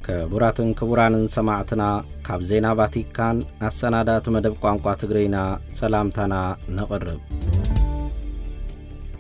ክቡራትን ክቡራንን ሰማዕትና፣ ካብ ዜና ቫቲካን ኣሰናዳእቲ መደብ ቋንቋ ትግርኛ ሰላምታና ነቕርብ።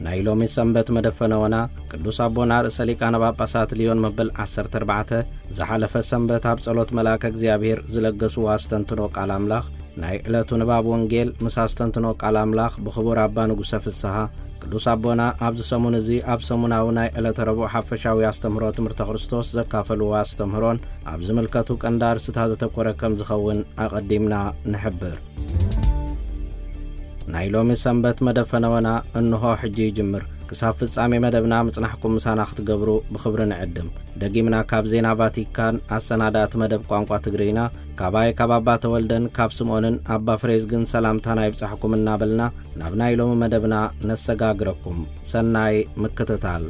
ናይ ሎሚ ሰንበት መደፈነወና ቅዱስ ኣቦና ርእሰ ሊቃነ ጳጳሳት ሊዮን መበል ዓሰርተ ኣርባዕተ ዝሓለፈ ሰንበት ኣብ ጸሎት መልኣከ እግዚኣብሔር ዝለገስዎ ኣስተንትኖ ቃል ኣምላኽ፣ ናይ ዕለቱ ንባብ ወንጌል ምስ ኣስተንትኖ ቃል ኣምላኽ ብኽቡር ኣባ ንጉሰ ፍስሃ፣ ቅዱስ ኣቦና ኣብዚ ሰሙን እዚ ኣብ ሰሙናዊ ናይ ዕለተ ረቡዕ ሓፈሻዊ ኣስተምህሮ ትምህርተ ክርስቶስ ዘካፈልዎ ኣስተምህሮን ኣብ ዝምልከቱ ቀንዲ ኣርስታት ዘተኮረ ከም ዝኸውን ኣቐዲምና ንሕብር። ናይ ሎሚ ሰንበት መደፈነወና እንሆ ሕጂ ይጅምር። ክሳብ ፍጻሜ መደብና ምጽናሕኩም ምሳና ክትገብሩ ብኽብሪ ንዕድም። ደጊምና ካብ ዜና ቫቲካን ኣሰናዳእቲ መደብ ቋንቋ ትግርኛ፣ ካባይ ካብ ኣባ ተወልደን ካብ ስምኦንን ኣባ ፍሬዝግን ሰላምታና ይብጻሕኩም እናበልና ናብ ናይ ሎሚ መደብና ነሰጋግረኩም። ሰናይ ምክትታል።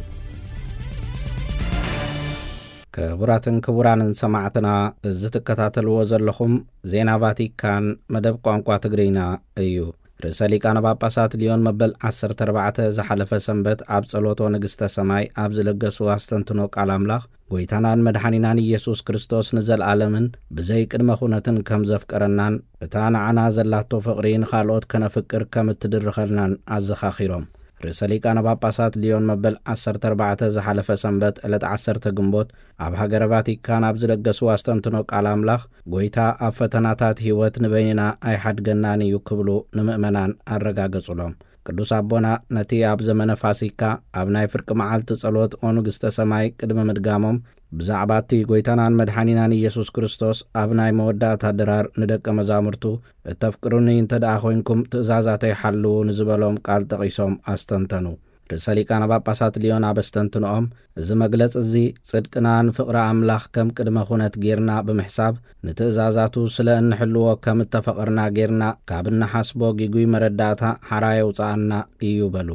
ክቡራትን ክቡራንን ሰማዕትና፣ እዚ ትከታተልዎ ዘለኹም ዜና ቫቲካን መደብ ቋንቋ ትግርኛ እዩ። ርእሰ ሊቃነ ጳጳሳት ሊዮን መበል ዓሰርተ ኣርባዕተ ዝሓለፈ ሰንበት ኣብ ጸሎቶ ንግስተ ሰማይ ኣብ ዝለገስዎ ኣስተንትኖ ቃል ኣምላኽ፣ ጎይታናን መድሓኒናን ኢየሱስ ክርስቶስ ንዘለኣለምን ብዘይ ቅድመ ኩነትን ከም ዘፍቀረናን እታ ንዓና ዘላቶ ፍቕሪ ንኻልኦት ከነፍቅር ከም እትድርኸልናን ኣዘኻኺሮም። ርእሰ ሊቃነ ጳጳሳት ሊዮን መበል ዓሰርተ ኣርባዕተ ዝሓለፈ ሰንበት ዕለት ዓሰርተ ግንቦት ኣብ ሃገረ ቫቲካን ኣብ ዝለገስዎ ኣስተንትኖ ቃል ኣምላኽ፣ ጎይታ ኣብ ፈተናታት ህይወት ንበይንና ኣይሓድገናን እዩ ክብሉ ንምእመናን ኣረጋገጹሎም። ቅዱስ ኣቦና ነቲ ኣብ ዘመነ ፋሲካ ኣብ ናይ ፍርቂ መዓልቲ ጸሎት ኦ ንግስተ ሰማይ ቅድሚ ምድጋሞም፣ ብዛዕባ እቲ ጎይታናን መድሓኒናን ኢየሱስ ክርስቶስ ኣብ ናይ መወዳእታ ድራር ንደቀ መዛሙርቱ፣ "እተፍቅሩኒ እንተ ደኣ ኾይንኩም ትእዛዛተይ ሓልዉ" ንዝበሎም ቃል ጠቒሶም ኣስተንተኑ። ርእሰ ሊቃነ ጳጳሳት ሊዮን ኣብ ኣስተንትኖኦም፣ እዚ መግለጺ እዚ ጽድቅና ንፍቕሪ ኣምላኽ ከም ቅድመ ኩነት ጌርና ብምሕሳብ፣ ንትእዛዛቱ ስለ እንሕልዎ ከም እተፈቐርና ጌርና ካብ እንሓስቦ ጊጉይ መረዳእታ ሓራ የውጽኣና እዩ በሉ።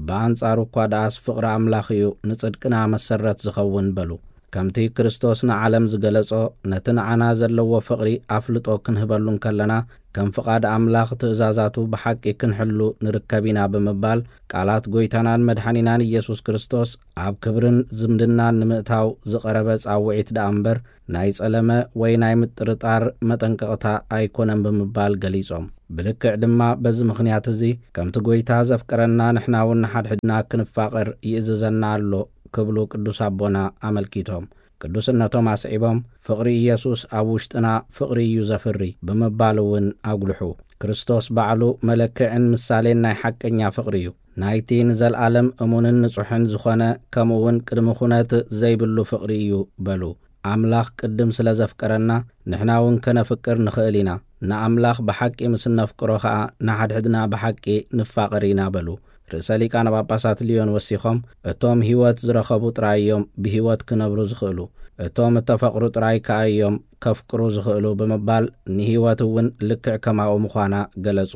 ብኣንጻሩ እኳ ደኣስ ፍቕሪ ኣምላኽ እዩ ንጽድቅና መሰረት ዝኸውን በሉ። ከምቲ ክርስቶስ ንዓለም ዝገለጾ፣ ነቲ ንዓና ዘለዎ ፍቕሪ ኣፍልጦ ክንህበሉ እንከለና፣ ከም ፍቓድ ኣምላኽ ትእዛዛቱ ብሓቂ ክንሕሉ ንርከብ ኢና ብምባል፣ ቃላት ጎይታናን መድሓኒናን ኢየሱስ ክርስቶስ ኣብ ክብርን ዝምድናን ንምእታው ዝቐረበ ጻውዒት ደኣ እምበር፣ ናይ ጸለመ ወይ ናይ ምጥርጣር መጠንቀቕታ ኣይኮነን ብምባል ገሊጾም። ብልክዕ ድማ በዚ ምኽንያት እዚ፣ ከምቲ ጎይታ ዘፍቀረና ንሕና እውን ንሓድሕድና ክንፋቐር ይእዝዘና ኣሎ ክብሉ ቅዱስ ኣቦና ኣመልኪቶም። ቅዱስነቶም ኣስዒቦም፣ "ፍቕሪ ኢየሱስ ኣብ ውሽጥና ፍቕሪ እዩ ዘፍሪ" ብምባል እውን ኣጉልሑ። ክርስቶስ ባዕሉ መለክዕን ምሳሌን ናይ ሓቀኛ ፍቕሪ እዩ። ናይቲ ንዘለኣለም እሙንን ንጹሕን ዝኾነ፣ ከምኡ እውን ቅድሚ ኩነት ዘይብሉ ፍቕሪ እዩ በሉ። ኣምላኽ ቅድም ስለ ዘፍቀረና፣ ንሕና እውን ከነፍቅር ንኽእል ኢና። ንኣምላኽ ብሓቂ ምስ እነፍቅሮ ኸኣ፣ ንሓድሕድና ብሓቂ ንፋቐር ኢና በሉ። ርእሰ ሊቃነ ጳጳሳት ሊዮን ወሲኾም፣ "እቶም ህይወት ዝረኸቡ ጥራይ እዮም ብህይወት ክነብሩ ዝኽእሉ፣ እቶም እተፈቕሩ ጥራይ ከኣ እዮም ከፍቅሩ ዝኽእሉ" ብምባል፣ ንህይወት እውን ልክዕ ከማኡ ምዃና ገለጹ።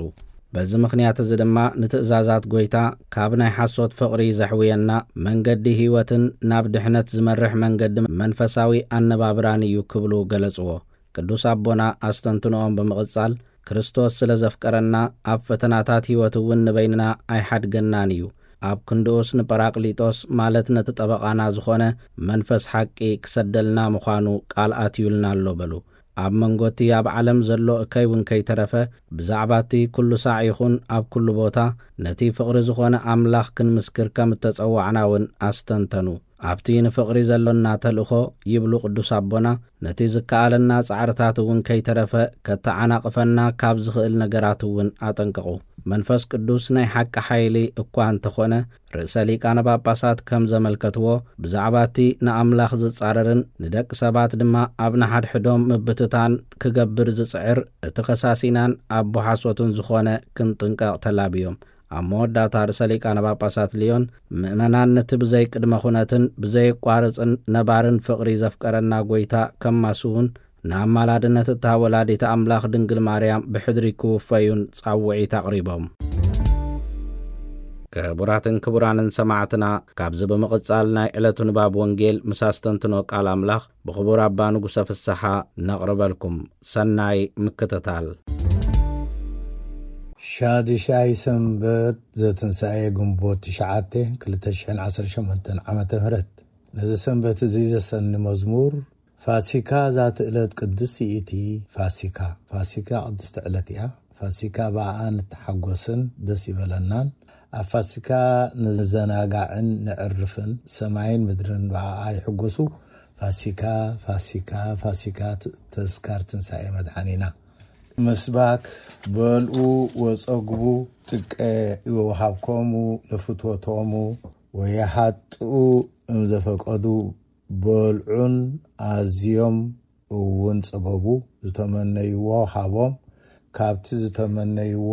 በዚ ምኽንያት እዚ ድማ፣ ንትእዛዛት ጐይታ ካብ ናይ ሓሶት ፍቕሪ ዘሕውየና፣ መንገዲ ህይወትን ናብ ድሕነት ዝመርሕ መንገዲ መንፈሳዊ ኣነባብራን እዩ ክብሉ ገለጽዎ። ቅዱስ ኣቦና ኣስተንትኖኦም ብምቕጻል፣ "ክርስቶስ ስለ ዘፍቀረና፣ ኣብ ፈተናታት ህይወት እውን ንበይንና ኣይሓድገናን እዩ። ኣብ ክንድኡስ ንጳራቅሊጦስ፣ ማለት ነቲ ጠበቓና ዝኾነ መንፈስ ሓቂ ክሰደልና ምዃኑ ቃል ኣትዩልና ኣሎ" በሉ። ኣብ መንጎ እቲ ኣብ ዓለም ዘሎ እከይ እውን ከይተረፈ፣ ብዛዕባ እቲ ኩሉ ሳዕ ይኹን ኣብ ኩሉ ቦታ፣ ነቲ ፍቕሪ ዝኾነ ኣምላኽ ክንምስክር ከም እተጸዋዕና እውን ኣስተንተኑ። ኣብቲ ንፍቕሪ ዘሎና ተልእኾ፣ ይብሉ ቅዱስ ኣቦና፣ ነቲ ዝከኣለና ጻዕርታት እውን ከይተረፈ ከተዓናቕፈና ካብ ዝኽእል ነገራት እውን ኣጠንቀቑ። መንፈስ ቅዱስ ናይ ሓቂ ሓይሊ እኳ እንተኾነ፣ ርእሰ ሊቃነ ጳጳሳት ከም ዘመልከትዎ፣ ብዛዕባ እቲ ንኣምላኽ ዝጻረርን ንደቂ ሰባት ድማ ኣብ ንሓድሕዶም ምብትታን ክገብር ዝጽዕር፣ እቲ ከሳሲናን ኣቦ ሓሶትን ዝኾነ ክንጥንቀቕ ተላብዮም። ኣብ መወዳእታ ርእሰ ሊቃነ ጳጳሳት ሊዮን፣ ምእመናን ነቲ ብዘይ ቅድመ ኩነትን ብዘየቋርጽን ነባርን ፍቕሪ ዘፍቀረና ጐይታ ከማስዉን፣ ንኣማላድነት እታ ወላዲት ኣምላኽ ድንግል ማርያም ብሕድሪ ክውፈዩን ጻውዒት ኣቕሪቦም። ክቡራትን ክቡራንን ሰማዕትና፣ ካብዚ ብምቕጻል ናይ ዕለቱ ንባብ ወንጌል ምስ ኣስተንትኖ ቃል ኣምላኽ ብኽቡር ኣባ ንጉሰ ፍስሓ ነቕርበልኩም። ሰናይ ምክትታል። ሻድሻይ ሰንበት ዘትንሳኤ ግንቦት ትሽዓተ ክልተ ሽሕን ዓሰርተ ሸሞንተን ዓመተ ምህረት። ነዚ ሰንበት እዚ ዘሰኒ መዝሙር ፋሲካ ዛቲ ዕለት ቅድስቲ ይእቲ ፋሲካ። ፋሲካ ቅድስቲ ዕለት እያ። ፋሲካ ብኣኣ ንተሓጎስን ደስ ይበለናን። ኣብ ፋሲካ ንዘናጋዕን ንዕርፍን፣ ሰማይን ምድርን ብኣኣ ይሕጎሱ። ፋሲካ፣ ፋሲካ፣ ፋሲካ፣ ት-፣ ተስካር ትንሳኤ መድሓኒና። ምስባክ፣ በልኡ ወጸግቡ፣ ጥቀ ወሃብኮሙ ለፍትወቶሙ ወየሃጥኡ እምዘፈቀዱ፣ በልዑን ኣዝዮም እውን ጸገቡ፣ ዝተመነይዎ ሃቦም፣ ካብቲ ዝተመነይዎ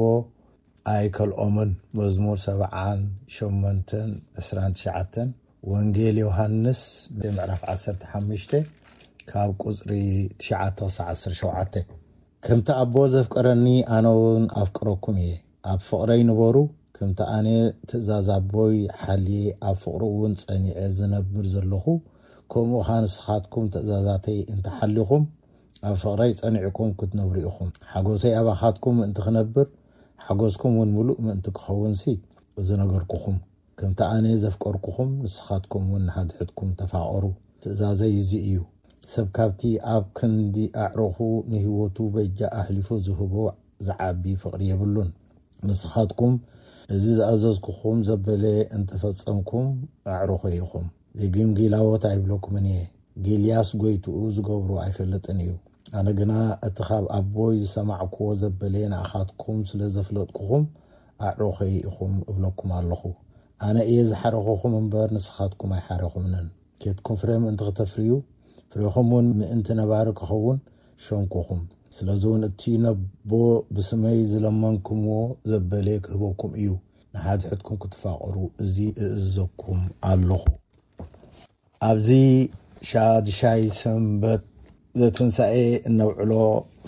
ኣይከልኦምን። መዝሙር ሰብዓን ሸሞንተን ዕስራን ትሽዓተን፣ ወንጌል ዮሃንስ ምዕራፍ ዓሰርተ ሓሙሽተ ካብ ቁጽሪ ትሽዓተ ክሳዕ ዓሰርተ ሸውዓተ። ከምቲ ኣቦ ዘፍቀረኒ ኣነ እውን ኣፍቅረኩም እየ። ኣብ ፍቕረይ ንበሩ። ከምቲ ኣነ ትእዛዝ ኣቦይ ሓልየ ኣብ ፍቕሩ እውን ጸኒዐ ዝነብር ዘለኹ፣ ከምኡ ኸኣ ንስኻትኩም ትእዛዛተይ እንተሓሊኹም፣ ኣብ ፍቕረይ ጸኒዕኩም ክትነብሩ ኢኹም። ሓጎሰይ ኣባኻትኩም ምእንቲ ክነብር፣ ሓጎስኩም እውን ምሉእ ምእንቲ ክኸውንሲ እዚ ነገርኩኹም። ከምቲ ኣነ ዘፍቀርኩኹም፣ ንስኻትኩም እውን ንሓድሕድኩም ተፋቐሩ። ትእዛዘይ እዚ እዩ። ሰብ ካብቲ ኣብ ክንዲ ኣዕሩኹ ንህይወቱ በጃ ኣሕሊፉ ዝህቦ ዝዓቢ ፍቕሪ የብሉን። ንስኻትኩም እዚ ዝኣዘዝኩኹም ዘበለ እንተፈጸምኩም፣ ኣዕሩኸይ ኢኹም። ዘይግምጊላዎት ኣይብለኩምን እየ። ጊልያስ ጎይትኡ ዝገብሮ ኣይፈልጥን እዩ። ኣነ ግና እቲ ካብ ኣቦይ ዝሰማዕክዎ ዘበለ ንኣኻትኩም ስለ ዘፍለጥኩኹም፣ ኣዕሩኸይ ኢኹም እብለኩም ኣለኹ። ኣነ እየ ዝሓረኹኹም እምበር፣ ንስኻትኩም ኣይሓረኹምንን። ኬድኩም ፍረ ምእንቲ ክተፍርዩ፣ ፍሬኹም እውን ምእንቲ ነባሪ ክኸውን ሸንኩኹም። ስለዚ እውን እቲ ነቦ ብስመይ ዝለመንኩምዎ ዘበለ ክህበኩም እዩ። ንሓድሕድኩም ክትፋቐሩ እዚ እእዝዘኩም ኣለኹ። ኣብዚ ሻድሻይ ሰንበት ዘትንሳኤ እነብዕሎ፣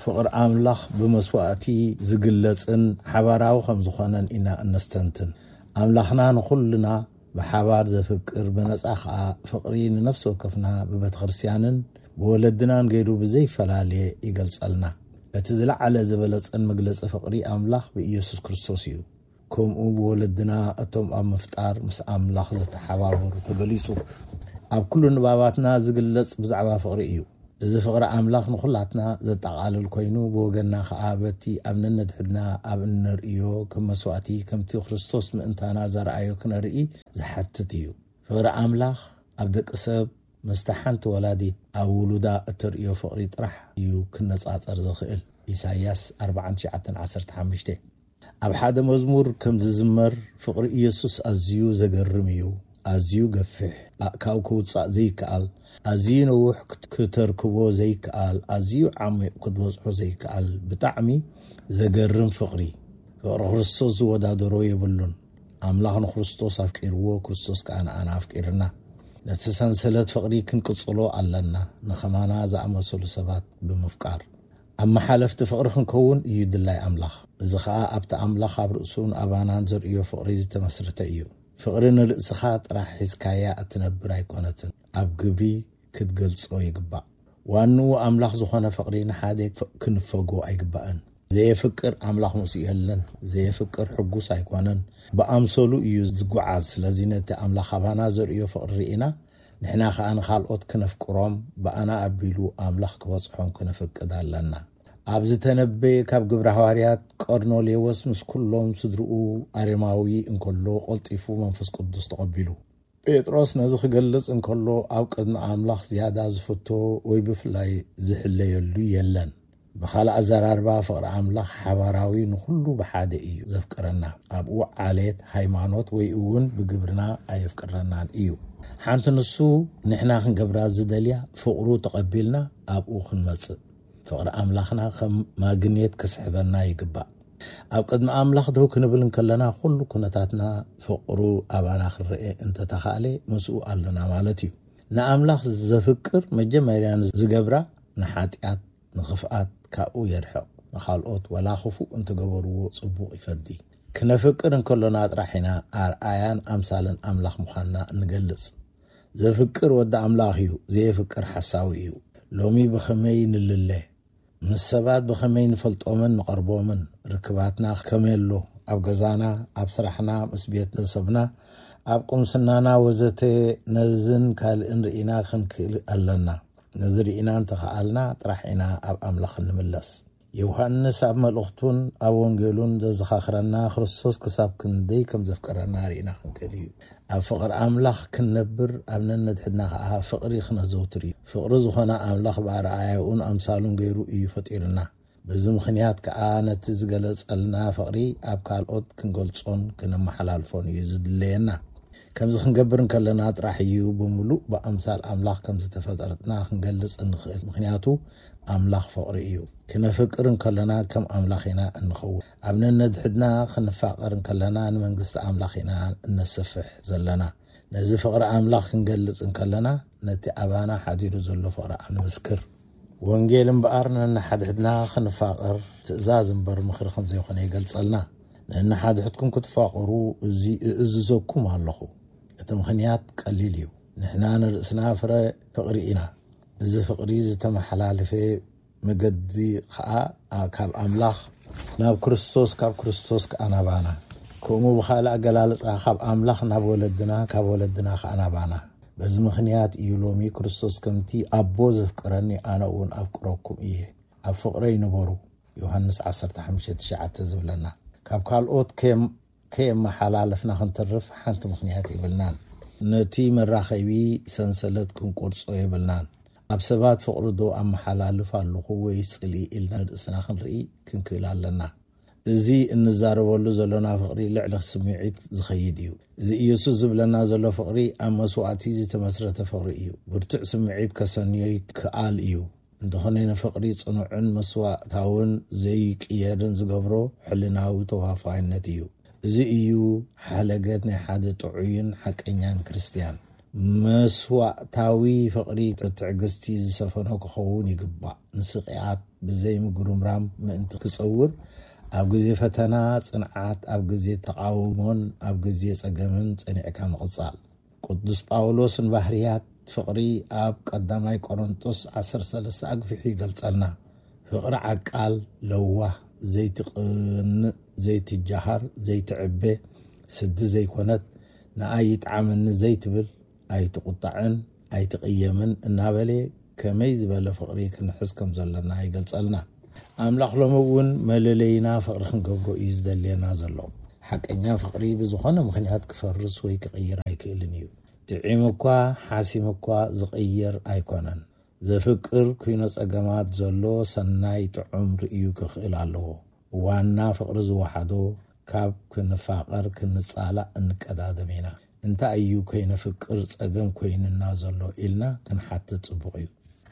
ፍቕሪ ኣምላኽ ብመስዋእቲ ዝግለጽን ሓባራዊ ከም ዝኾነን ኢና እነስተንትን። ኣምላኽና ንኹልና ብሓባር ዘፍቅር፣ ብነጻ ኸኣ ፍቕሪ ንነፍሲ ወከፍና ብቤተ ክርስቲያንን ብወለድናን ገይሩ ብዘይፈላለየ ይገልጸልና። እቲ ዝለዓለ ዝበለጸን መግለጺ ፍቕሪ ኣምላኽ ብኢየሱስ ክርስቶስ እዩ። ከምኡ ብወለድና እቶም ኣብ ምፍጣር ምስ ኣምላኽ ዝተሓባበሩ ተገሊጹ። ኣብ ኩሉ ንባባትና ዝግለጽ ብዛዕባ ፍቕሪ እዩ። እዚ ፍቕሪ ኣምላኽ ንኹላትና ዘጠቓልል ኮይኑ፣ ብወገንና ኸኣ በቲ ኣብ ነነድሕድና ኣብ እነርእዮ ከም መስዋእቲ፣ ከምቲ ክርስቶስ ምእንታና ዘርኣዮ ክነርኢ ዝሓትት እዩ። ፍቕሪ ኣምላኽ ኣብ ደቂ ሰብ ምስቲ ሓንቲ ወላዲት ኣብ ውሉዳ እተርእዮ ፍቕሪ ጥራሕ እዩ ክነጻጸር ዝኽእል። ኢሳይያስ ኣርባዓን ትሽዓተን ዓሰርተ ሓሙሽተ። ኣብ ሓደ መዝሙር ከም ዝዝመር፣ ፍቕሪ ኢየሱስ ኣዝዩ ዘገርም እዩ፣ ኣዝዩ ገፊሕ፣ ኣእካብ ክውጻእ ዘይከኣል፣ ኣዝዩ ነዊሕ ክት-፣ ክተርክቦ ዘይከኣል፣ ኣዝዩ ዓሚቕ ክትበጽሖ ዘይከኣል፣ ብጣዕሚ ዘገርም ፍቕሪ። ፍቕሪ ክርስቶስ ዝወዳደሮ የብሉን። ኣምላኽ ንክርስቶስ ኣፍቂርዎ፣ ክርስቶስ ከኣ ንኣና ኣፍቂርና። ነቲ ሰንሰለት ፍቕሪ ክንቅጽሎ ኣለና፣ ንኸማና ዝኣመሰሉ ሰባት ብምፍቃር። ኣብ መሓለፍቲ ፍቕሪ ክንከውን እዩ ድላይ ኣምላኽ። እዚ ኸኣ ኣብቲ ኣምላኽ ኣብ ርእሱን ኣባናን ዘርእዮ ፍቕሪ ዝተመስረተ እዩ። ፍቕሪ ንርእስኻ ጥራሕ ሒዝካያ እትነብር ኣይኮነትን፣ ኣብ ግብሪ ክትገልጾ ይግባእ። ዋንኡ ኣምላኽ ዝኾነ ፍቕሪ ንሓደ ፍ-፣ ክንፈጎ ኣይግባእን። ዘየፍቅር ኣምላኽ ምስኡ የለን፣ ዘየፍቅር ሕጉስ ኣይኮነን፣ ብኣምሰሉ እዩ ዝጓዓዝ። ስለዚ ነቲ ኣምላኽ ኣባና ዘርእዮ ፍቕሪ ርኢና፣ ንሕና ኸኣ ንኻልኦት ክነፍቅሮም፣ ብኣና ኣቢሉ ኣምላኽ ክበጽሖም ክነፍቅድ ኣለና። ኣብ ዝተነበየ ካብ ግብረ ሃዋርያት፣ ቀርኖሌዎስ ምስ ኩሎም ስድርኡ ኣሬማዊ እንከሎ፣ ቀልጢፉ መንፈስ ቅዱስ ተቐቢሉ። ጴጥሮስ ነዚ ክገልጽ እንከሎ፣ ኣብ ቅድሚ ኣምላኽ ዝያዳ ዝፍቶ ወይ ብፍላይ ዝሕለየሉ የለን። ብኻልእ ኣዘራርባ፣ ፍቕሪ ኣምላኽ ሓባራዊ፣ ንኹሉ ብሓደ እዩ ዘፍቅረና። ኣብኡ ዓሌት፣ ሃይማኖት ወይ እውን ብግብርና ኣየፍቅረናን እዩ። ሓንቲ ንሱ ንሕና ክንገብራ ዝደልያ፣ ፍቕሩ ተቐቢልና ኣብኡ ክንመጽእ። ፍቕሪ ኣምላኽና ከም ማግኔት ክስሕበና ይግባእ። ኣብ ቅድሚ ኣምላኽ ደው ክንብል እንከለና፣ ኩሉ ኩነታትና ፍቕሩ ኣባና ክረኤ እንተተኻእለ፣ ምስኡ ኣለና ማለት እዩ። ንኣምላኽ ዘፍቅር መጀመርያ ዝገብራ ንሓጢኣት፣ ንኽፍኣት ካብኡ የርሕቕ። ንኻልኦት ወላ ክፉእ እንተገበርዎ ጽቡቕ ይፈዲ። ክነፍቅር እንከሎና ጥራሕ ኢና ኣርኣያን ኣምሳልን ኣምላኽ ምዃንና እንገልጽ። ዘፍቅር ወዲ ኣምላኽ እዩ፣ ዘየፍቅር ሓሳዊ እዩ። ሎሚ ብኸመይ ንልለ? ምስ ሰባት ብኸመይ ንፈልጦምን ንቐርቦምን? ርክባትና ከመይ ኣሎ? ኣብ ገዛና፣ ኣብ ስራሕና፣ ምስ ቤተሰብና፣ ኣብ ቁምስናና ወዘተ፣ ነዝን ካልእን ርኢና ክንክእል ኣለና። ነዚ ርኢና እንተኸኣልና ጥራሕ ኢና ኣብ ኣምላኽ እንምለስ። ዮሃንስ ኣብ መልእኽቱን ኣብ ወንጌሉን ዘዘኻኽረና ክርስቶስ ክሳብ ክንደይ ከም ዘፍቀረና ርኢና ክንክእል እዩ። ኣብ ፍቕሪ ኣምላኽ ክንነብር፣ ኣብ ነነድሕድና ኸዓ ፍቕሪ ክነዘውትር እዩ። ፍቕሪ ዝኾነ ኣምላኽ ብኣርኣያኡን ኣምሳሉን ገይሩ እዩ ፈጢርና። በዚ ምኽንያት ከኣ ነቲ ዝገለጸልና ፍቕሪ ኣብ ካልኦት ክንገልጾን ክነመሓላልፎን እዩ ዝድለየና። ከምዚ ክንገብር እንከለና ጥራሕ እዩ ብምሉእ ብኣምሳል ኣምላኽ ከም ዝተፈጠርትና ክንገልጽ እንኽእል። ምኽንያቱ ኣምላኽ ፍቕሪ እዩ። ክነፍቅር እንከለና ከም ኣምላኽ ኢና እንኸውን። ኣብ ነነድሕድና ክንፋቐር እንከለና ንመንግስቲ ኣምላኽ ኢና እነስፍሕ ዘለና። ነዚ ፍቕሪ ኣምላኽ ክንገልጽ እንከለና ነቲ ኣባና ሓዲሩ ዘሎ ፍቕሪ ኣምላኽ ንምስክር። ወንጌል እምበኣር ነንሓድሕድና ክንፋቐር ትእዛዝ እምበር ምኽሪ ከም ዘይኮነ ይገልጸልና። ነንሓድሕድኩም ክትፋቐሩ እዚ እእዝዘኩም ኣለኹ። እቲ ምኽንያት ቀሊል እዩ። ንሕና ንርእስና ፍረ ፍቕሪ ኢና። እዚ ፍቕሪ ዝተመሓላለፈ መገዲ ኸኣ ካብ ኣምላኽ ናብ ክርስቶስ፣ ካብ ክርስቶስ ከኣ ናባና። ከምኡ ብኻልእ ኣገላልጻ ካብ ኣምላኽ ናብ ወለድና፣ ካብ ወለድና ከኣ ናባና። በዚ ምኽንያት እዩ ሎሚ ክርስቶስ ከምቲ ኣቦ ዘፍቅረኒ ኣነ እውን ኣፍቅረኩም እየ። ኣብ ፍቕረይ ንበሩ። ዮሃንስ ዓሰርተ ሓሙሽተ ትሽዓተ ዝብለና። ካብ ካልኦት ከየም-፣ ከየመሓላለፍና ክንተርፍ ሓንቲ ምኽንያት የብልናን። ነቲ መራኸቢ ሰንሰለት ክንቆርጾ የብልናን። ኣብ ሰባት ፍቕሪ ዶ ኣመሓላልፍ ኣለኹ ወይስ ጽልኢ ኢልና ንርእስና ክንርኢ ክንክእል ኣለና። እዚ እንዛረበሉ ዘሎና ፍቕሪ ልዕሊ ስምዒት ዝኸይድ እዩ። እዚ ኢየሱስ ዝብለና ዘሎ ፍቕሪ ኣብ መስዋእቲ ዝተመስረተ ፍቕሪ እዩ። ብርቱዕ ስምዒት ከሰንዮ ይከኣል እዩ። እንተኾነ ንፍቕሪ ጽኑዕን መስዋእታውን ዘይቅየርን ዝገብሮ ሕልናዊ ተዋፋይነት እዩ። እዚ እዩ ሓለገት ናይ ሓደ ጥዑይን ሓቀኛን ክርስትያን። መስዋእታዊ ፍቕሪ ትዕግስቲ ዝሰፈኖ ክኸውን ይግባእ። ንስቕያት ብዘይ ምጉርምራም ምእንቲ ክጸውር፣ ኣብ ግዜ ፈተና ጽንዓት፣ ኣብ ግዜ ተቓውሞን ኣብ ግዜ ጸገምን ጸኒዕካ ምቕጻል። ቅዱስ ጳውሎስ ንባህርያት ፍቕሪ ኣብ ቀዳማይ ቆሮንጦስ ዓሰርተ ሰለስተ ኣግፊሑ ይገልጸልና። ፍቕሪ ዓቃል፣ ለዋህ፣ ዘይትቕንእ፣ ዘይትጃሃር፣ ዘይትዕበ፣ ስዲ ዘይኮነት፣ ንኣይ ይጥዓመኒ ዘይትብል፣ ኣይትቑጣዕን ኣይትቕየምን እናበለ ከመይ ዝበለ ፍቕሪ ክንሕዝ ከም ዘለና ይገልጸልና። ኣምላኽ ሎሚ እውን መለለይና ፍቕሪ ክንገብሮ እዩ ዝደልየና ዘሎ። ሓቀኛ ፍቕሪ ብዝኾነ ምኽንያት ክፈርስ ወይ ክቕይር ኣይክእልን እዩ። ጥዒም እኳ ሓሲም እኳ ዝቕየር ኣይኮነን። ዘፍቅር ኩይኖ ጸገማት ዘሎ ሰናይ ጥዑም ርእዩ ክኽእል ኣለዎ። ዋና ፍቕሪ ዝወሓዶ ካብ ክንፋቐር ክንጻላእ እንቀዳደም ኢና። እንታይ እዩ ከይነፍቅር ጸገም ኮይንና ዘሎ ኢልና ክንሓትት ጽቡቕ እዩ።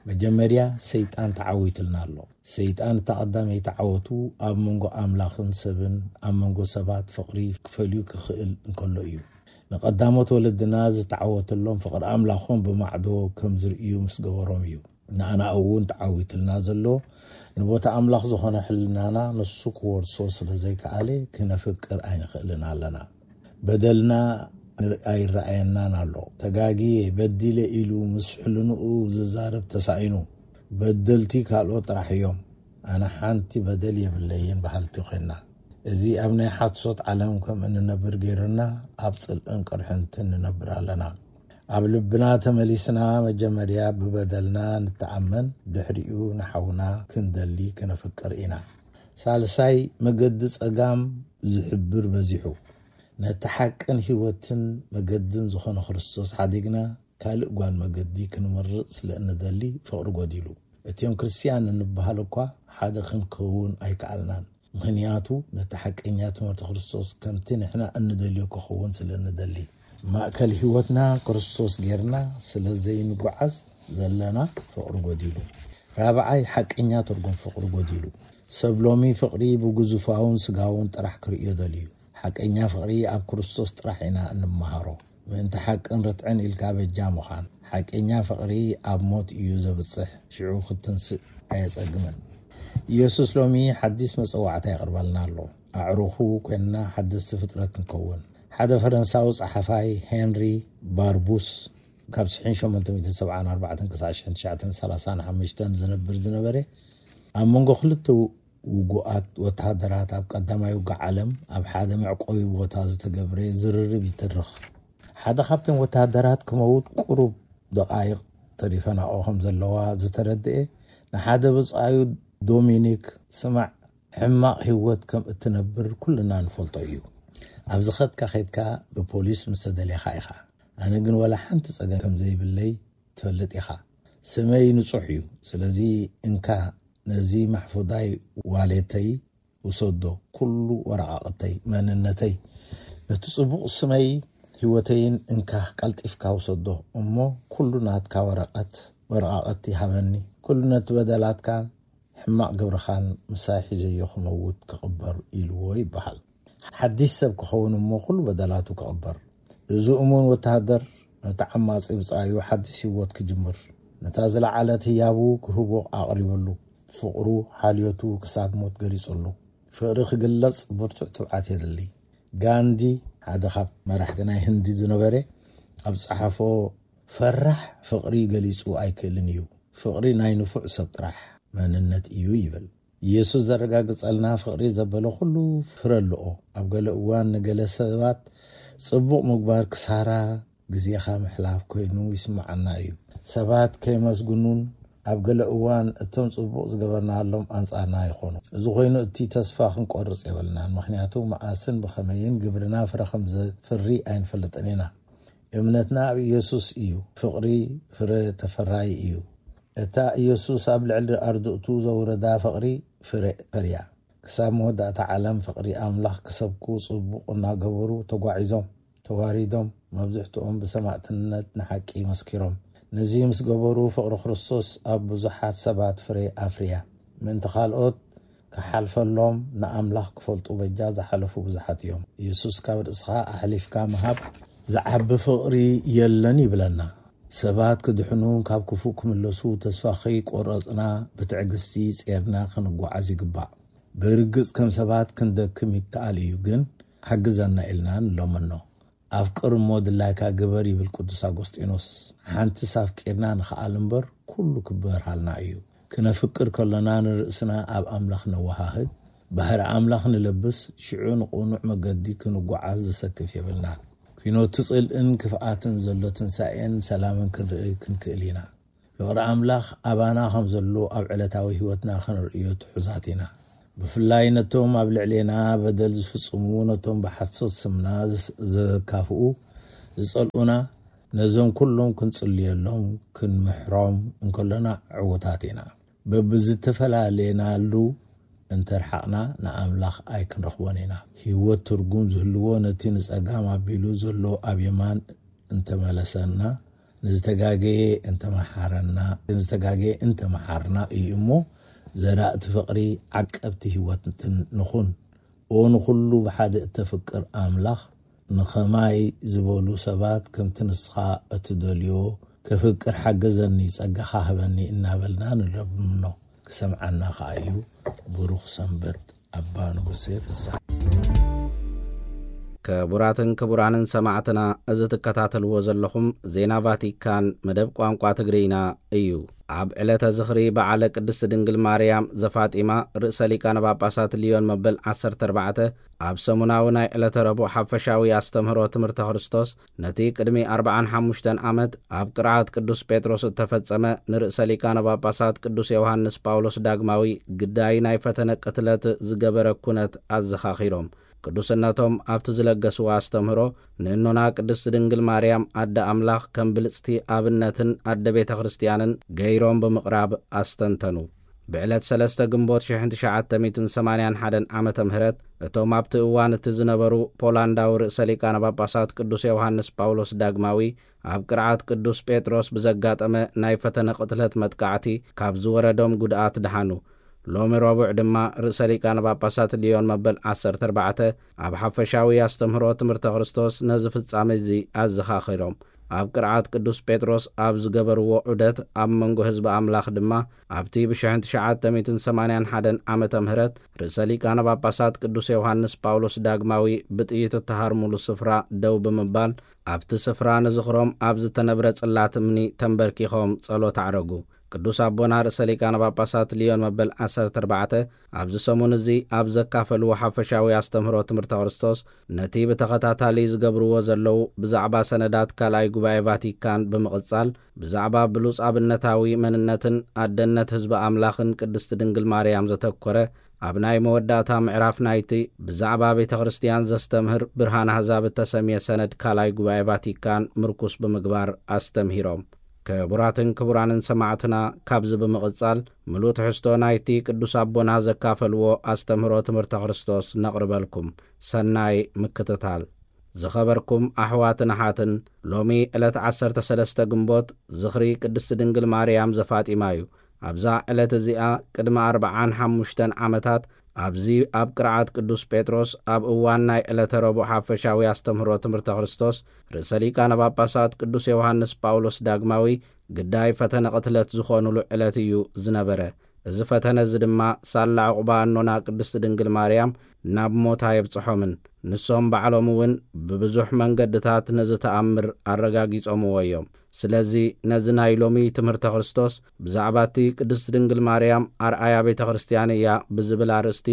መጀመርያ ሰይጣን ተዓዊትልና ኣሎ። ሰይጣን እታ ቀዳመይቲ ዓወቱ ኣብ መንጎ ኣምላኽን ሰብን ኣብ መንጎ ሰባት ፍቕሪ ክፈልዩ ክኽእል እንከሎ እዩ። ንቐዳሞት ወለድና ዝተዓወተሎም ፍቕሪ ኣምላኾም ብማዕዶ ከም ዝርእዩ ምስ ገበሮም እዩ። ንኣና እውን ተዓዊትልና ዘሎ ንቦታ ኣምላኽ ዝኾነ ሕልናና ንሱ ክወርሶ ስለ ዘይከኣለ ክነፍቅር ኣይንኽእልን ኣለና። በደልና ኣይረኣየናን ኣሎ። ተጋግየ፣ በዲለ ኢሉ ምስ ሕልንኡ ዝዛረብ ተሳኢኑ። በደልቲ ካልኦት ጥራሕ እዮም፣ ኣነ ሓንቲ በደል የብለይን በሃልቲ ኮይና። እዚ ኣብ ናይ ሓሶት ዓለም ከም እንነብር ገይሩና ኣብ ጽልእን ቅርሕንትን ንነብር ኣለና። ኣብ ልብና ተመሊስና መጀመርያ ብበደልና ንተኣመን፣ ድሕሪኡ ንሓውና ክንደሊ ክነፍቅር ኢና። ሳልሳይ መገዲ ጸጋም ዝሕብር በዚሑ። ነቲ ሓቅን ህይወትን መገድን ዝኾነ ክርስቶስ ሓዲግና ካልእ ጓል መገዲ ክንመርጽ ስለ እንደሊ ፍቕሪ ጎዲሉ። እቲኦም ክርስትያን እንበሃል እኳ ሓደ ክንከውን ኣይከኣልናን። ምኽንያቱ ነቲ ሓቀኛ ትምህርቲ ክርስቶስ ከምቲ ንሕና እንደልዮ ክኸውን ስለ እንደሊ። ማእከል ህይወትና ክርስቶስ ጌርና ስለ ዘይንጓዓዝ ዘለና ፍቕሪ ጎዲሉ። ራብዓይ ሓቀኛ ትርጉም ፍቕሪ ጎዲሉ። ሰብ ሎሚ ፍቕሪ ብግዙፋውን ስጋውን ጥራሕ ክርእዮ ደልዩ። ሓቀኛ ፍቕሪ ኣብ ክርስቶስ ጥራሕ ኢና እንመሃሮ። ምእንቲ ሓቅን ርትዕን ኢልካ በጃ ምዃን። ሓቀኛ ፍቕሪ ኣብ ሞት እዩ ዘብጽሕ፣ ሽዑ ክትንስእ ኣየጸግምን። ኢየሱስ ሎሚ ሓዲስ መጸዋዕታ የቕርበልና ኣሎ። ኣዕሩኹ ኮይንና ሓደስቲ ፍጥረት ክንከውን። ሓደ ፈረንሳዊ ጸሓፋይ ሄንሪ ባርቡስ ካብ ሽሕን ሸሞንተ ሚእትን ሰብዓን ኣርባዕተን ክሳዕ ሽሕን ትሽዓተ ሚእትን ሰላሳን ሓሙሽተን ዝነብር ዝነበረ፣ ኣብ መንጎ ክልተ ውጉኣት ወተሃደራት ኣብ ቀዳማይ ውግእ ዓለም ኣብ ሓደ መዕቆቢ ቦታ ዝተገብረ ዝርርብ ይትርኽ። ሓደ ካብቶም ወተሃደራት ክመውት ቁሩብ ደቓይቕ ተሪፈናኦ ከም ዘለዋ ዝተረድኤ ንሓደ ብጻዩ ዶሚኒክ፣ ስማዕ፣ ሕማቕ ህይወት ከም እትነብር ኩልና ንፈልጦ እዩ። ኣብ ዝኸድካ ኸድካ ብፖሊስ ምስ ተደልኻ ኢኻ። ኣነ ግን ወላ ሓንቲ ጸገም ከም ዘይብለይ ትፈልጥ ኢኻ። ስመይ ንጹሕ እዩ። ስለዚ እንካ ነዚ ማሕፉዳይ ዋሌተይ ውሰዶ፣ ኩሉ ወረቓቕተይ፣ መንነተይ፣ ነቲ ጽቡቕ ስመይ ህይወተይን እንካ ቀልጢፍካ ውሰዶ፣ እሞ ኩሉ ናትካ ወረቐት ወረቓቕቲ ሃበኒ። ኩሉ ነቲ በደላትካን ሕማቕ ግብርኻን ምሳይ ሒዘዮ ክመውት ክቕበር ኢልዎ ይበሃል። ሓድሽ ሰብ ክኸውን እሞ ኩሉ በደላቱ ክቕበር። እዚ እሙን ወተሃደር ነቲ ዓማጺ ብጻዩ ሓድሽ ህይወት ክጅምር፣ ነታ ዝለዓለት ህያቡ ክህቦ ኣቕሪበሉ። ፍቕሩ፣ ሓልዮቱ ክሳብ ሞት ገሊጹሉ። ፍቕሪ ክግለጽ ብርቱዕ ትብዓት የድሊ። ጋንዲ፣ ሓደ ካብ መራሕቲ ናይ ህንዲ ዝነበረ፣ ኣብ ጸሓፎ፣ ፈራሕ ፍቕሪ ገሊጹ ኣይክእልን እዩ። ፍቕሪ ናይ ንፉዕ ሰብ ጥራሕ መንነት እዩ ይብል። ኢየሱስ ዘረጋግጸልና ፍቕሪ ዘበለ ኩሉ ፍረ ኣለኦ። ኣብ ገለ እዋን ንገለ ሰባት ጽቡቕ ምግባር ክሳራ ግዜኻ ምሕላፍ ኮይኑ ይስምዓና እዩ። ሰባት ከይመስግኑን ኣብ ገለ እዋን እቶም ጽቡቕ ዝገበርናሎም ኣንጻርና ይኾኑ። እዚ ኮይኑ እቲ ተስፋ ክንቆርጽ የብልናን፣ ምኽንያቱ መዓስን ብኸመይን ግብርና ፍረ ከም ዘፍሪ ኣይንፈልጥን ኢና። እምነትና ኣብ ኢየሱስ እዩ። ፍቕሪ ፍረ ተፈራዪ እዩ። እታ ኢየሱስ ኣብ ልዕሊ ኣርድእቱ ዘውረዳ ፍቕሪ ፍረ ፈርያ። ክሳብ መወዳእታ ዓለም ፍቕሪ ኣምላኽ ክሰብኩ ጽቡቕ እናገበሩ ተጓዒዞም፣ ተዋሪዶም፣ መብዝሕትኦም ብሰማእትነት ንሓቂ መስኪሮም። ነዚ ምስ ገበሩ ፍቕሪ ክርስቶስ ኣብ ብዙሓት ሰባት ፍረ ኣፍርያ። ምእንቲ ካልኦት ክሓልፈሎም ንኣምላኽ ክፈልጡ በጃ ዝሓለፉ ብዙሓት እዮም። ኢየሱስ ካብ ርእስኻ ኣሕሊፍካ ምሃብ ዝዓቢ ፍቕሪ የለን ይብለና። ሰባት ክድሕኑ ካብ ክፉእ ክምለሱ ተስፋ ከይቆረጽና ብትዕግስቲ ጼርና ክንጓዓዝ ይግባእ። ብርግጽ ከም ሰባት ክንደክም ይከኣል እዩ፣ ግን ሓግዘና ኢልና ንለምኖ። ኣፍቅር እሞ ድላይካ ግበር ይብል ቅዱስ ኣጎስጢኖስ። ሓንትስ ኣፍቂርና ንኽኣል እምበር ኩሉ ክበርሃልና እዩ። ክነፍቅር ከሎና ንርእስና ኣብ ኣምላኽ ነወሃህድ፣ ባህሪ ኣምላኽ ንለብስ፣ ሽዑ ንቕኑዕ መገዲ ክንጓዓዝ ዘሰክፍ የብልናን። ኲኖቲ ጽልእን ክፍኣትን ዘሎ ትንሳኤን ሰላምን ክንርኢ ክንክእል ኢና። ፍቕሪ ኣምላኽ ኣባና ከም ዘሎ ኣብ ዕለታዊ ህይወትና ክንርእዮ ትሑዛት ኢና። ብፍላይ ነቶም ኣብ ልዕሌና በደል ዝፍጽሙ፣ ነቶም ብሓሶት ስምና ዝስ-፣ ዘካፍኡ፣ ዝጸልኡና፣ ነዞም ኩሎም ክንጽልየሎም፣ ክንምሕሮም እንከሎና ዕዉታት ኢና። በብዝተፈላለየናሉ እንተርሓቕና ንኣምላኽ ኣይክንረኽቦን ኢና። ህይወት ትርጉም ዝህልዎ ነቲ ንጸጋም ኣቢሉ ዘሎ ኣብ የማን እንተመለሰና፣ ንዝተጋገየ እንተመሓረና፣ ንዝተጋገየ እንተመሓርና እዩ እሞ፣ ዘራእቲ ፍቕሪ ዓቀብቲ ህይወትን ንኹን። ኦ ንኹሉ ብሓደ እተፍቅር ኣምላኽ፣ ንኸማይ ዝበሉ ሰባት ከምቲ ንስኻ እትደልዮ ከፍቅር ሓግዘኒ፣ ጸጋኻ ህበኒ እናበልና ንለምኖ። ክሰምዓና ከኣ እዩ። ብሩኽ ሰንበት ኣባ ንጉሴ ፍስሓ። ክቡራትን ክቡራንን ሰማዕትና፣ እዚ ትከታተልዎ ዘለኹም ዜና ቫቲካን መደብ ቋንቋ ትግርኛ እዩ። ኣብ ዕለተ ዝኽሪ በዓለ ቅድስት ድንግል ማርያም ዘፋጢማ ርእሰ ሊቃነ ጳጳሳት ሊዮን መበል ዓሰርተ ኣርባዕተ ኣብ ሰሙናዊ ናይ ዕለተ ረቡዕ ሓፈሻዊ ኣስተምህሮ ትምህርተ ክርስቶስ ነቲ ቅድሚ ኣርብዓን ሓሙሽተን ዓመት ኣብ ቅርዓት ቅዱስ ጴጥሮስ እተፈጸመ ንርእሰ ሊቃነ ጳጳሳት ቅዱስ ዮሃንስ ጳውሎስ ዳግማዊ ግዳይ ናይ ፈተነ ቅትለት ዝገበረ ኩነት ኣዘኻኺሮም። ቅዱስነቶም ኣብቲ ዝለገስዎ ኣስተምህሮ ንእኖና ቅድስት ድንግል ማርያም ኣደ ኣምላኽ ከም ብልጽቲ ኣብነትን ኣደ ቤተ ክርስቲያንን ገይሮም ብምቕራብ ኣስተንተኑ። ብዕለት ሰለስተ ግንቦት ሽሕን ትሽዓተ ሚእትን ሰማንያን ሓደን ዓመተ ምህረት እቶም ኣብቲ እዋን እቲ ዝነበሩ ፖላንዳዊ ርእሰ ሊቃነ ጳጳሳት ቅዱስ ዮሃንስ ጳውሎስ ዳግማዊ ኣብ ቅርዓት ቅዱስ ጴጥሮስ ብዘጋጠመ ናይ ፈተነ ቅትለት መጥቃዕቲ ካብ ዝወረዶም ጉድኣት ደሓኑ። ሎሚ ረቡዕ ድማ ርእሰ ሊቃነ ጳጳሳት ሊዮን መበል ዓሰርተ ኣርባዕተ ኣብ ሓፈሻዊ ኣስተምህሮ ትምህርተ ክርስቶስ ነዚ ፍጻሜ እዚ ኣዘኻኺሮም። ኣብ ቅርዓት ቅዱስ ጴጥሮስ ኣብ ዝገበርዎ ዑደት ኣብ መንጎ ህዝቢ ኣምላኽ ድማ ኣብቲ ብሽሕን ትሽዓተ ሚእትን ሰማንያን ሓደን ዓመተ ምህረት ርእሰ ሊቃነ ጳጳሳት ቅዱስ ዮሃንስ ጳውሎስ ዳግማዊ ብጥይት እተሃርሙሉ ስፍራ ደው ብምባል ኣብቲ ስፍራ ንዝኽሮም ኣብ ዝተነብረ ጽላት እምኒ ተንበርኪኾም ጸሎት ኣዕረጉ። ቅዱስ ኣቦና ርእሰ ሊቃነ ጳጳሳት ሊዮን መበል ዓሰርተ ኣርባዕተ ኣብዚ ሰሙን እዚ ኣብ ዘካፈልዎ ሓፈሻዊ ኣስተምህሮ ትምህርተ ክርስቶስ፣ ነቲ ብተኸታታሊ ዝገብርዎ ዘለዉ ብዛዕባ ሰነዳት ካልኣይ ጉባኤ ቫቲካን ብምቕጻል፣ ብዛዕባ ብሉጽ ኣብነታዊ መንነትን ኣደነት ህዝቢ ኣምላኽን ቅድስቲ ድንግል ማርያም ዘተኮረ፣ ኣብ ናይ መወዳእታ ምዕራፍ ናይቲ ብዛዕባ ቤተ ክርስቲያን ዘስተምህር ብርሃን ኣህዛብ እተሰምየ ሰነድ ካልኣይ ጉባኤ ቫቲካን ምርኩስ ብምግባር ኣስተምሂሮም። ክቡራትን ክቡራንን ሰማዕትና፣ ካብዚ ብምቕጻል ምሉእ ትሕዝቶ ናይቲ ቅዱስ ኣቦና ዘካፈልዎ ኣስተምህሮ ትምህርተ ክርስቶስ ነቕርበልኩም። ሰናይ ምክትታል። ዝኸበርኩም ኣሕዋትን ኣሓትን፣ ሎሚ ዕለት ዓሰርተ ሰለስተ ግንቦት ዝኽሪ ቅድስቲ ድንግል ማርያም ዘፋጢማ እዩ። ኣብዛ ዕለት እዚኣ ቅድሚ ኣርብዓን ሓሙሽተን ዓመታት ኣብዚ ኣብ ቅርዓት ቅዱስ ጴጥሮስ ኣብ እዋን ናይ ዕለተ ረቡዕ ሓፈሻዊ ኣስተምህሮ ትምህርተ ክርስቶስ ርእሰ ሊቃነ ጳጳሳት ቅዱስ ዮሃንስ ጳውሎስ ዳግማዊ ግዳይ ፈተነ ቅትለት ዝኾኑሉ ዕለት እዩ ዝነበረ። እዚ ፈተነ እዚ ድማ ሳላ ዕቑባ ኣኖና ቅድስቲ ድንግል ማርያም ናብ ሞት ኣየብጽሖምን። ንሶም ባዕሎም እውን ብብዙሕ መንገድታት ነዚ ተኣምር ኣረጋጊጾምዎ እዮም። ስለዚ ነዚ ናይ ሎሚ ትምህርተ ክርስቶስ ብዛዕባ እቲ ቅድስቲ ድንግል ማርያም ኣርኣያ ቤተ ክርስቲያን እያ ብዝብል ኣርእስቲ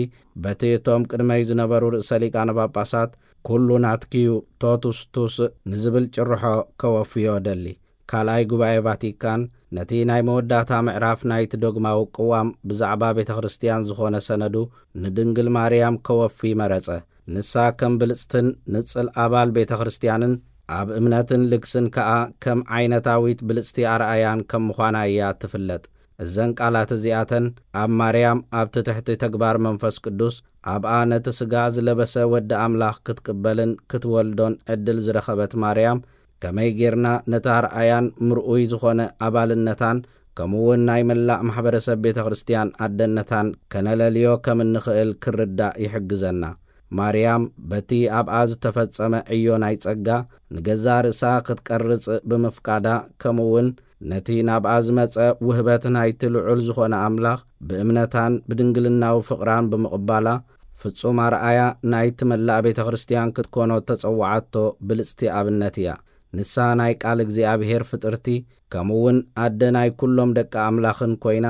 በቲ እቶም ቅድመይ ዝነበሩ ርእሰ ሊቃነ ጳጳሳት ኩሉ ናትኪዩ ቶቱስ ቱስ ንዝብል ጭርሖ ከወፍዮ ደሊ። ካልኣይ ጉባኤ ቫቲካን ነቲ ናይ መወዳእታ ምዕራፍ ናይቲ ዶግማዊ ቅዋም ብዛዕባ ቤተ ክርስቲያን ዝኾነ ሰነዱ ንድንግል ማርያም ከወፊ መረጸ። ንሳ ከም ብልጽትን ንጽል ኣባል ቤተ ክርስቲያንን ኣብ እምነትን ልግስን ከኣ ከም ዓይነታዊት ብልጽቲ ኣርኣያን ከም ምዃና እያ ትፍለጥ። እዘን ቃላት እዚኣተን ኣብ ማርያም ኣብቲ ትሕቲ ተግባር መንፈስ ቅዱስ ኣብኣ ነቲ ስጋ ዝለበሰ ወዲ ኣምላኽ ክትቅበልን ክትወልዶን ዕድል ዝረኸበት ማርያም፣ ከመይ ጌርና ነቲ ኣርኣያን ምርኡይ ዝኾነ ኣባልነታን ከምኡ እውን ናይ መላእ ማሕበረሰብ ቤተ ክርስቲያን ኣደነታን ከነለልዮ ከም እንኽእል ክርዳእ ይሕግዘና። ማርያም በቲ ኣብኣ ዝተፈጸመ ዕዮ ናይ ጸጋ ንገዛእ ርእሳ ክትቀርጽ ብምፍቃዳ፣ ከምኡ እውን ነቲ ናብኣ ዝመጸ ውህበት ናይቲ ልዑል ዝኾነ ኣምላኽ ብእምነታን ብድንግልናዊ ፍቕራን ብምቕባላ፣ ፍጹም ኣርኣያ ናይቲ መላእ ቤተ ክርስቲያን ክትኮኖ እተጸውዓቶ ብልጽቲ ኣብነት እያ። ንሳ ናይ ቃል እግዚኣብሔር ፍጥርቲ፣ ከምኡ እውን ኣደ ናይ ኩሎም ደቂ ኣምላኽን ኮይና፣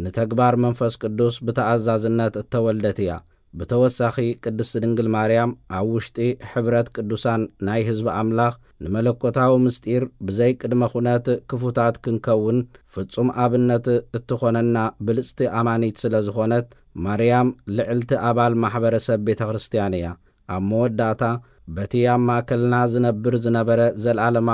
ንተግባር መንፈስ ቅዱስ ብተኣዛዝነት እተወልደት እያ። ብተወሳኺ ቅድስቲ ድንግል ማርያም ኣብ ውሽጢ ሕብረት ቅዱሳን ናይ ህዝቢ ኣምላኽ ንመለኮታዊ ምስጢር ብዘይ ቅድመ ኩነት ክፉታት ክንከውን ፍጹም ኣብነት እትኾነና ብልጽቲ ኣማኒት ስለ ዝኾነት፣ ማርያም ልዕልቲ ኣባል ማሕበረሰብ ቤተ ክርስቲያን እያ። ኣብ መወዳእታ በቲ ኣብ ማእከልና ዝነብር ዝነበረ ዘለዓለማዊ